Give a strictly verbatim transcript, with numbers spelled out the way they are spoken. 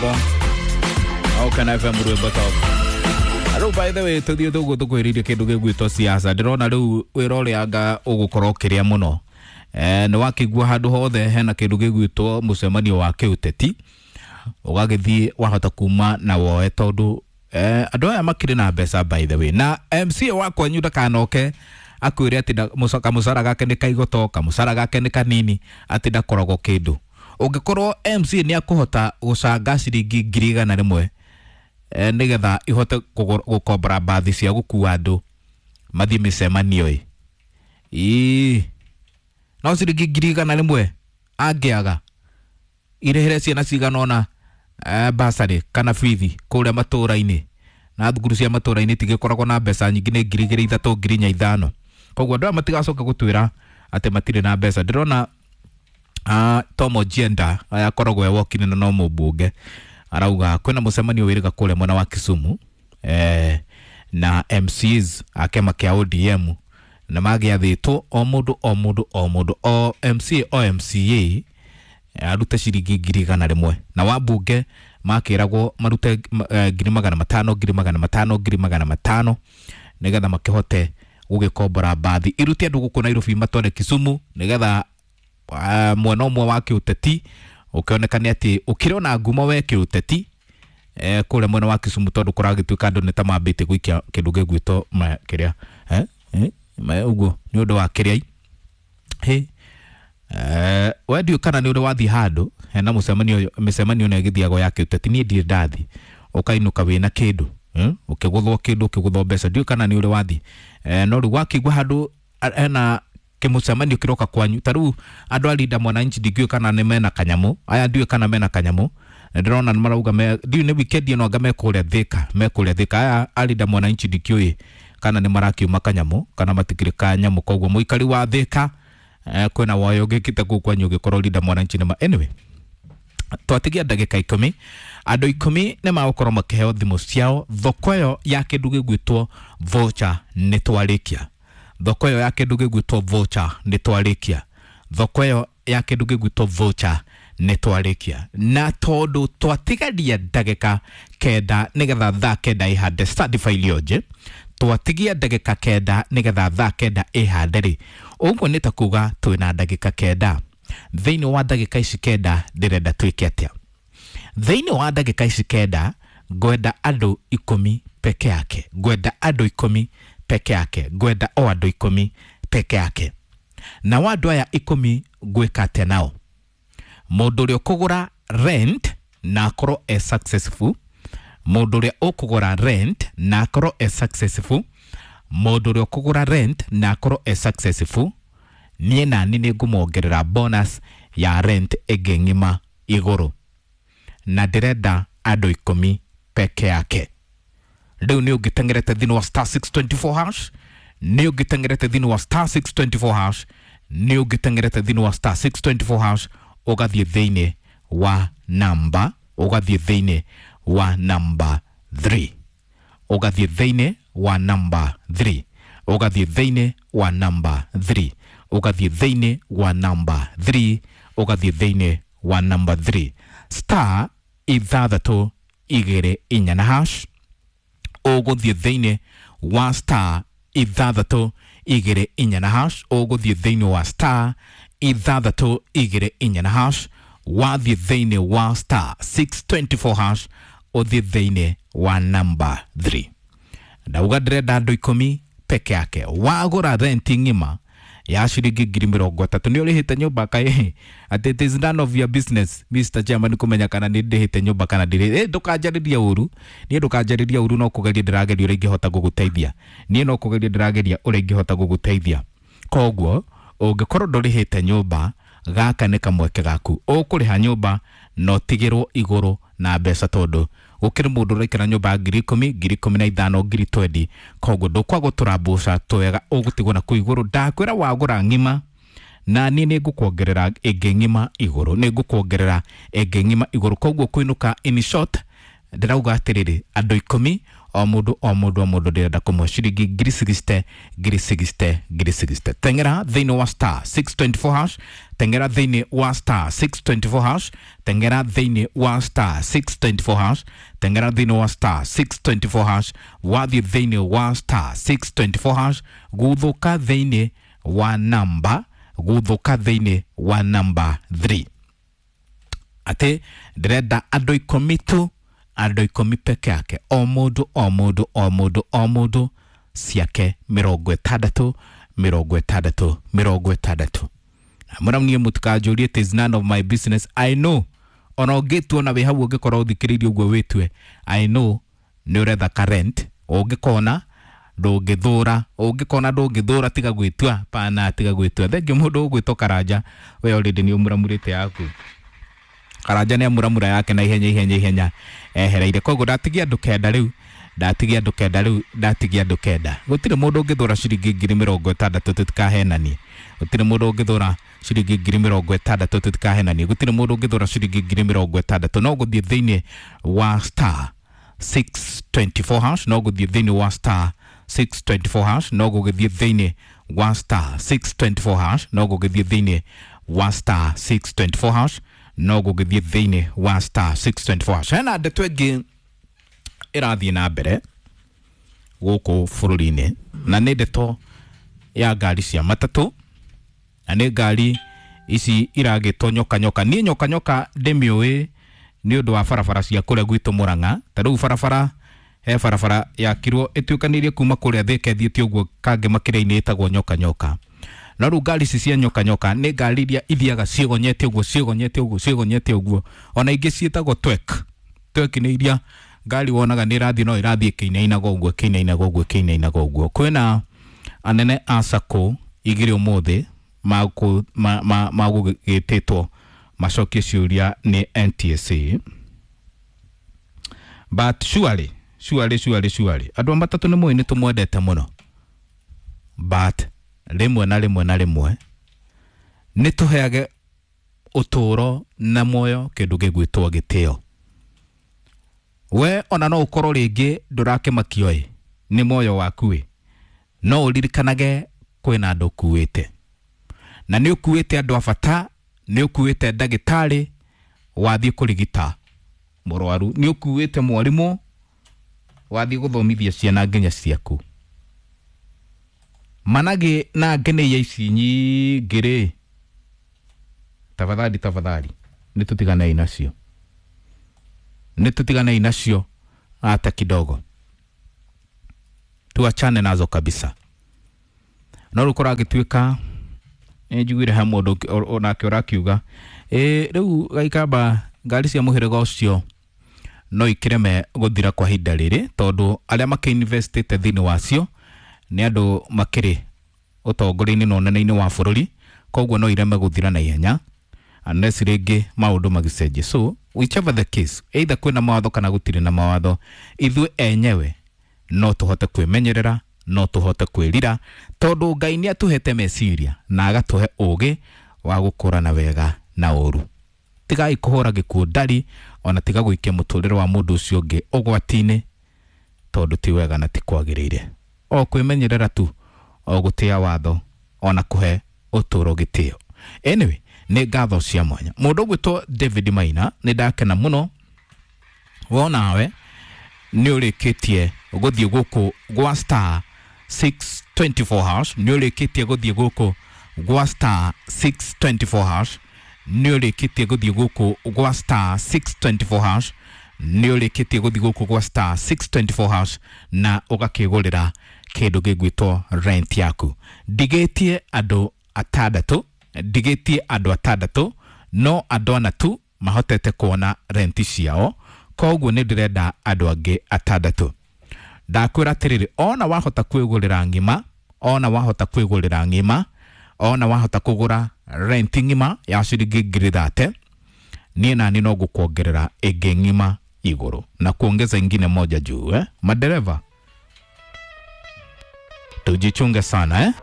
Mtambo Okena F M rwimbo top. Rĩu by the way tũthiĩ tũguo tũkwĩrĩirie kĩndũ gĩgwĩtwo siasa. Ndĩrona rĩu wĩra ũrĩa anga ũgũkorwo ũkĩrĩa mũno. Eh, nĩ wakĩigua handũ hothe hena kĩndũ gĩgwĩtwo mũcemanio wa kĩũteti, ũgagĩthiĩ wahota kuma na woe tondũ eh, andũ aya makĩrĩ na mbeca by the way. Na M C A wa kwanyu ndakanoke akwĩre atĩ kamũcara gake nĩ kaigoto, kamũcara gake nĩ kanini, atĩ ndakoragwo kĩndũ. Ũngĩkorwo M C A nĩ akũhota gũcanga ciringi ngiri igana rĩmwe eh, nĩgetha ihote gũkombora mbathi cia gũkua andũ mathiĩ mĩcemanio ĩ. Ĩĩ, no ciringi ngiri igana rĩmwe angĩaga irĩhĩre ciana cigana ũna eh, basarĩ kana bithi kũrĩa matũra-inĩ, na thukuru cia matũra-inĩ itigĩkoragwo na mbeca nyingĩ, nĩ ngiri igĩrĩ ithatũ ngiri inya ithano. Koguo andũ aya matigacoka gũtwĩra atĩ matirĩ na mbeca. Ndĩrona uh, Tom Ojienda aya akoragwo e wokini na no mũmbunge, arauga kwĩna mũcemanio wĩrĩga kũrĩa mwena wa Kisumu eh, na M Cs a kĩama kĩa O D M, na magĩathĩtwo o mũndũ o mũndũ o mũndũ o M C A o M C A arute ciringi ngiri igana rĩmwe, na wambunge makĩragwo marute ngiri magana matano ngiri magana matano ngiri magana matano nĩgetha makĩhote gũgĩkombora mbathi irute andũ gũkũ Nairobi matware Kisumu, nĩgetha uh, mwena ũmwe wa kĩũteti ũkĩonekane atĩ ũkĩrĩ ona ngumo we kĩũteti eh, kũrĩa mwena wa Kisumu, tondũ kũragĩtuĩka andũ nĩ ta mambĩtie gũikia kĩndũ gĩgwĩtwo kĩrĩa eh, eh, ũguo nĩ ũndũ wa kĩrĩa hĩ eh, we ndiũĩ kana nĩ ũrĩ wathiĩ handũ hena mũcemanio, mĩcemanio ĩno ĩgĩthiagwo ya kĩũteti, niĩ ndirĩ ndathiĩ, ũkainũka wĩna kĩndũ eh, ũkĩgũthwo kĩndũ ũkĩgũthwo mbeca, ndiũĩ kana nĩ ũrĩ wathiĩ eh, no rĩu wakĩigua handũ hena kĩmũcemanio kĩroka kwanyu, ta rĩu andũ a Linda Mwananchi ndingĩũĩ kana nĩ mena kanyamũ, aya ndiũĩ kana mena kanyamũ, ndĩrona nĩ marauga me, ndiũĩ nĩ weekend ĩno anga me kũrĩa Thika, me kũrĩa Thika, aya a Linda Mwananchi ndikĩũĩ kana nĩ marakiuma kanyamũ kana matikĩrĩ kanyamũ. Koguo mũikari wa Thika eh, kwĩna woyo ũngĩkĩte kũu kwanyu ũngĩkorwo Linda Mwananchi nĩ ma, anyway twatigia ndagĩka ikũmi, andũ ikũmi nĩ magũkorwo makĩheo thimũ ciao. Thoko ĩyo ya kĩndũ gĩgwĩtwo voucher nĩ twarĩkia, thoko ĩyo ya kĩndũ gĩgwĩtwo voucher nĩ twarĩkia, thoko ĩyo ya kĩndũ gĩgwĩtwo voucher nĩ twarĩkia. Na tondũ twatigaria ndagĩka kenda nĩgetha thaa kenda ĩhande certified onje, twatigia ndagĩka kenda nĩgetha thaa kenda ĩhande rĩ, ũguo nĩ ta kuga twĩna ndagĩka kenda. Thĩinĩ wa ndagĩka ici kenda ndĩrenda twĩke atĩa? Thĩinĩ wa ndagĩka ici kenda ngwenda andũ ikũmi peke yake, ngwenda andũ ikũmi peke yake, ngwenda o andũ ikũmi peke yake. Na wa andũ aya ikũmi ngwĩka atĩa nao? Mũndũ ũrĩa ũkũgũra rent na akorwo e successful, mũndũ ũrĩa ũkũgũra rent na akorwo e successful, mũndũ ũrĩa ũkũgũra rent na akorwo e successful, niĩ nani nĩ ngũmuongerera bonus ya rent ĩngĩ ng'ima igũrũ, na ndĩrenda andũ ikũmi peke yake. Rĩu nĩ ũngĩteng'erete thĩinĩ wa star six twenty four hash, nĩ ũngĩteng'erete thĩinĩ wa star six twenty four hash, nĩ ũngĩteng'erete thĩinĩ wa star six twenty four hash, ũgathiĩ thĩinĩ wa namba, ũgathiĩ thĩinĩ wa namba three, ũgathiĩ thĩinĩ wa namba three, ũgathiĩ thĩinĩ wa namba three, ũgathiĩ thĩinĩ wa namba three, ũgathiĩ thĩinĩ wa namba three, star ithathatũ igĩrĩ inya na hash, ũgũthiĩ thĩinĩ wa star ithathatũ igĩrĩ inya na hash, ũgũthiĩ thĩinĩ wa star ithathatũ igĩrĩ inya na hash, wathiĩ thĩinĩ wa star six twenty four hash, ũthiĩ thĩinĩ wa namba three. Ndauga ndĩrenda andũ ikũmi peke yake. Wagũra renti ng'ima ya ciringi ngiri mĩrongo ĩtatũ, nĩ ũrĩhĩte nyũmba kaĩ? Atĩ it is none of your business Mister Chairman kũmenya kana nĩ ndĩhĩte nyũmba kana ndirĩ. Eh, ndũkanjarĩrie ũru, niĩ ndũkanjarĩrie ũru, no kũgeria ndĩrageria ũrĩa ingĩhota gũgũteithia, niĩ no kũgeria ndĩrageria ũrĩa ingĩhota gũgũteithia. Koguo ũngĩkorwo ndũrĩhĩte nyũmba, gaka nĩ kamweke gaku, ũkũrĩha nyũmba na ũtigĩrwo igũrũ na mbeca, tondũ gũkĩrĩ mũndũ ũraikara nyũmba ya ngiri ikũmi, ngiri ikũmi na ithano, ngiri twendi. Koguo ndũkwaga gũtũra twega, ũgũtigwo na kũu igũrũ. Ndakwĩra wagũra ng'ima na niĩ nĩ ngũkuongerera ĩngĩ ng'ima igũrũ, nĩ ngũkuongerera ĩngĩ ng'ima igũrũ. Koguo kũinũka in short ndĩrauga atĩrĩrĩ, andũ ikũmi O mundu o mundu o mundu ndirenda kumwe ciringi ngiri sixty ngiri sixty ngiri sixty. Tengera thiini wa star six twenty-four hash, tengera thiini wa star six twenty-four hash, tengera thiini wa star six twenty-four hash, tengera thiini wa star six twenty-four hash, wathi thiini wa star six twenty-four hash, guthuka thiini wa namba, guthuka thiini wa namba three. Ati ndirenda andu ikumi tu, andu ikumi peke yake, o mundu o mundu o mundu o mundu ciake mirongo itandatu mirongo itandatu mirongo itandatu. Mũramnie mũtikanjũrie, it is none of my business. I know ona ũngĩtua na wĩ hau ũngĩkorwo ũthikĩrĩirie ũguo wĩtue, I know nĩ ũretha current, ũngĩkona ndũngĩthũra, ũngĩkona ndũngĩthũra tiga gwĩtua, pana tiga gwĩtua. Thengiũ mũndũ ũgwĩtwo Karanja, we already nĩ ũmũramurĩte yaku. Karanja nĩ amuramura yake na ihenya ihenya ihenya ehereire. Koguo ndatigia andũ kenda rĩu, ndatigia andũ kenda rĩu, ndatigia andũ kenda. Gũtirĩ mũndũ ũngĩthũra ciringi ngiri mĩrongo ĩtandatũ, tũtikahenanie. Gũtirĩ mũndũ ũngĩthũra ciringi ngiri mĩrongo ĩtandatũ, tũtikahenanie. Gũtirĩ mũndũ ũngĩthũra ciringi ngiri mĩrongo ĩtandatũ. No gũthiĩ thĩinĩ wa star six twenty-four hash, no gũthiĩ thĩinĩ wa star six twenty-four hash, no gũgĩthiĩ thĩinĩ wa star six twenty-four hash, no gũgĩthiĩ thĩinĩ wa star six twenty-four hash, no gũgĩthiĩ thĩinĩ wa star six twenty-four hash. Hena ndeto ĩngĩ ĩrathiĩ na mbere gũkũ bũrũri-inĩ, na nĩ ndeto ya ngari cia matatũ, na nĩ ngari ici iragĩtwo nyoka nyoka. Niĩ nyoka nyoka ndĩmĩũĩ nĩ ũndũ wa barabara cia kũrĩa gwitũ Murang'a. Ta rĩu barabara, he barabara yakirwo ĩtuĩkanĩirie kuma kũrĩa Thika ĩthiĩte ũguo kangĩ makĩria-inĩ ĩtagwo nyoka nyoka. No rĩu ngari ici cia nyoka nyoka nĩ ngari iria ithiaga ciĩgonyete ũguo ciĩgonyete ũguo ciĩgonyete ũguo. Ona ingĩ ciĩtagwo twek. Twek nĩ iria ngari wonaga nĩ ĩrathiĩ no ĩrathiĩ ĩkĩinainaga ũguo ĩkĩinainaga ũguo ĩkĩinainaga ũguo. Kwĩna anene a SACCO igĩrĩ ũmũthĩ magũgĩtĩtwo macokie ciũria nĩ N T S A. But surely, surely, surely, surely, andũ a matatũ nĩ mũĩ nĩ tũmwendete mũno, but rĩmwe na rĩmwe na rĩmwe nĩ tũheage ũtũũro na muoyo kĩndũ gĩgwĩtwo gĩtĩo. We ona no ũkorwo rĩngĩ ndũrakĩmakio ĩ nĩ muoyo waku ĩ, no ũririkanage kwĩna andũ ũkuĩte, na nĩ ũkuĩte andũ a bata, nĩ ũkuĩte ndagĩtarĩ wathiĩ kũrigita mũrwaru, nĩ ũkuĩte mwarimũ wathiĩ gũthomithia ciana nginya ciaku. Managĩ na ngeneia ici nyingĩ rĩ, tafadhali tafadhali nĩ tũtiganei nacio, nĩ tũtiganei nacio hata kidogo, tuachane nazo kabisa. No rĩu kũragĩtuĩka nĩ njiguire he mũndũ onake ũrakiuga ĩ rĩu Gaikamba ngari cia mũhĩrĩga ũcio no ikĩreme gũthira kwa ihinda rĩrĩ, tondũ arĩa makĩinvestĩte thĩinĩ wacio nĩ andũ makĩrĩ ũtongoria-inĩ na ũnene-inĩ wa bũrũri, koguo no ireme gũthira na ihenya unless rĩngĩ maũndũ magĩcenjie. So whichever the case, either kwĩna mawatho kana gũtirĩ na mawatho, ithuĩ enyewe no tũhote kwĩmenyerera, no tũhote kwĩrira, tondũ Ngai nĩ atũhete meciria na agatũhe ũũgĩ wa gũkũrana wega na ũũru. Tigai kũhũra gĩkuũ ndari, ona tiga gũikia mũtũrĩre wa mũndũ ũcio ũngĩ ũgwati-inĩ, tondũ ti wega na ti kwagĩrĩire. O kwĩmenyerera tu, o gũtĩa watho, ona kũhe ũtũũro gĩtĩo. Anyway, nĩ ngatho cia mwanya. Mũndũ ũgwĩtwo David Maina, nĩ ndakena mũno wonawe nĩ ũrĩkĩtie gũthiĩ gũkũ gwa star six twenty-four hash, nĩ ũrĩkĩtie gũthiĩ gũkũ gwa star six twenty-four hash, nĩ ũrĩkĩtie gũthiĩ gũkũ gwa star six twenty-four hash, nĩ ũrĩkĩtie gũthiĩ gũkũ gwa star six twenty-four hash na ũgakĩgũrĩra kĩndũ gĩgwĩtwo rent yaku. Ndigĩtie andũ atandatũ, ndigĩtie andũ atandatũ, no andũ ana tu mahotete kuona renti ciao, koguo nĩ ndĩrenda andũ angĩ atandatũ. Ndakwĩra atĩrĩrĩ, ona wahota kwĩgũrĩra ng'ima, ona wahota kwĩgũrĩra ng'ima, ona wahota kũgũra rent ng'ima ya ciringi ngiri thate, niĩ nani no ngũkuongerera ĩngĩ ng'ima igũrũ na kuongeza ingine moja juu eh? Madereva tujichunge sana eh?